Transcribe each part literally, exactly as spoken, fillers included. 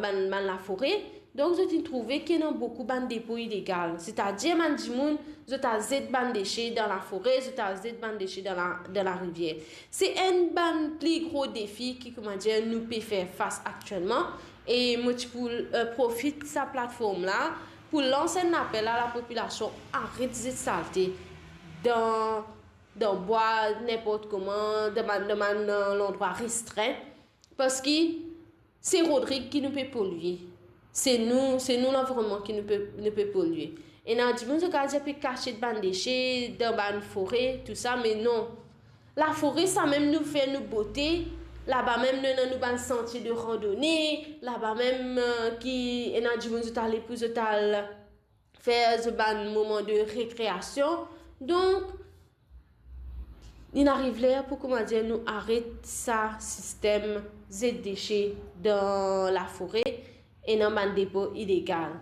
bann, bann lafore. Donk, zot inn trouve ki ena boukou bann depo ilegal. Setadir, bann dimoun, zot al zet bann dese dan lafore, zot al zet bann dese dan la, dan larivier. Se enn bann pli gro defi ki, koumadir, nou pe fer fas aktielman. E mo ti pou, eh, profit sa platform la pou lans enn apel a lapopilasion, aret zet salte dan, dan bwa, ninport kouma, dan bann, dan bann, eh, landrwa restrin. Parski se Rodrig ki nou pe polie. Se nou, se nou lanvironnman ki nou pe, nou pe polie. Ena dimoun, zot kapav dir, pe kasiet bann dese dan bann fore, tou sa, me non. Lafore, sa mem nou fer nou bote. Laba mem nou ena nou bann santie de randone. Laba mem, eh, ki ena dimoun, zot ale pou zot al fer zot bann moman de rekreasion. Donk, li ariv ler pou, koumadir, nou aret sa sistem zet dese dan lafore, ena bann depo ilegal.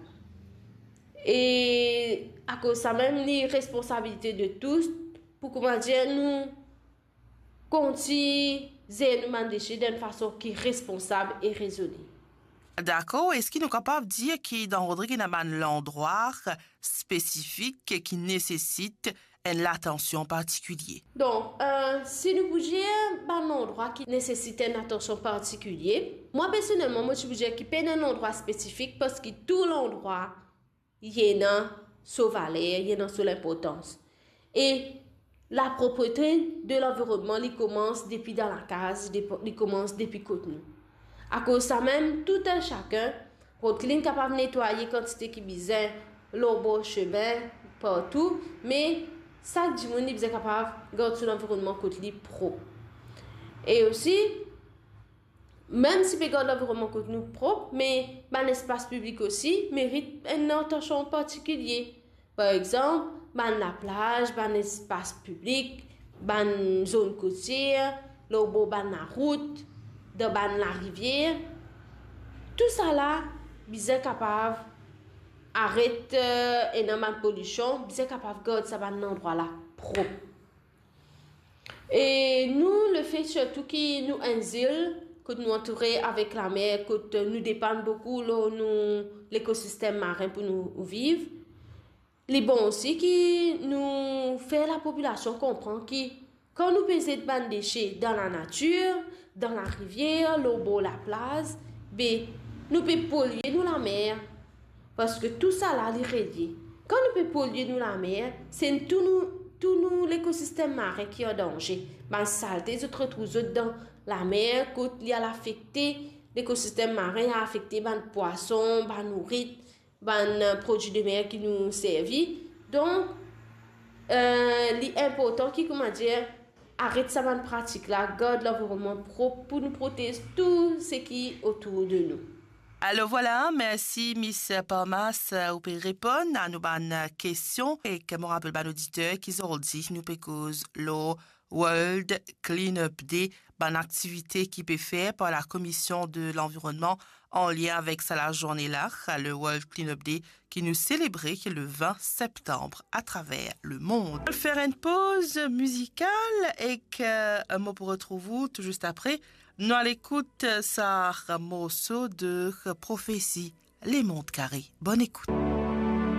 E akoz sa mem, li responsabilite de tous pou, koumadir, nou kontign zer nou bann dese dan enn fason ki responsab e rezone. Dakor, eski nou kapav dir ki dan Rodrig ena bann landrwa spesifik ki nesesit enn latansion partikilie? Donk, eh, si nou pou dir bann landrwa ki nesesit enn latansion partikilie, mwa personelman, mo ti pou dir ki pena enn landrwa spesifik, parski tou landrwa li ena so valer, li ena so linportans. E laproprete de lanvironnman, li koumans depi dan lakaz, depi, li koumans depi kot nou. Akoz sa mem, tou enn sakenn, Rod Clean kapav netwaye kantite ki bizin lor bor semin partou, me sak dimoun li bizin kapav gard so lanvironnman kot li prop. E osi, mem si pe gard lanvironnman kot nou prop, me bann lespas piblik osi merit enn atansion partikilie. Par exanp, bann laplaz, bann lespas piblik, bann zone kotier, lor bor bann larout, dan bann larivier. Tousala bizin kapav aret, eh, ena bann polision, bizin kapav gard sa bann landrwa la prop. E nou, lefe sirtou ki nou enn zil, kot nou antoure avek lamer, kot nou depann boukou lor nou lekosistem marin pou nou viv, li bon osi ki nou fer lapopilasion konpran ki kan nou pe zet bann dese dan lanatir, dan larivier, lor bor laplaz, be, nou pe polie nou lamer. Parski tousala li relie. Kan nou pe polie nou lamer, se tou nou, tou nou lekosistem marin ki an danze. Bann salte, zot retrouv zot dan lamer, kot li al afekte lekosistem marin, afekte bann pwason, bann nourit, bann, eh, prodwi de mer ki nou servi. Donk, eh, li inportan ki, koumadir, aret sa bann pratik la, gard lanvironnman prop pou nou protez tou seki otour de nou. Alor vwala, mersi Miss Palmas, ou pe reponn a nou bann kestion, e mo rapel bann oditer ki zordi nou pe koz lor World Cleanup Day, bann aktivite ki pe fer par la Commission de l'Environnement an lien avek sa lazourne la, le World Cleanup Day, ki nou selebre le vin septanm atraver lemond. Fer enn poz mizikal ek, eh, mo pou retrouv ou tou zis apre. Nou al ekout sa morso de Prophecy, Les Mondes Carrés. Bonn ekout.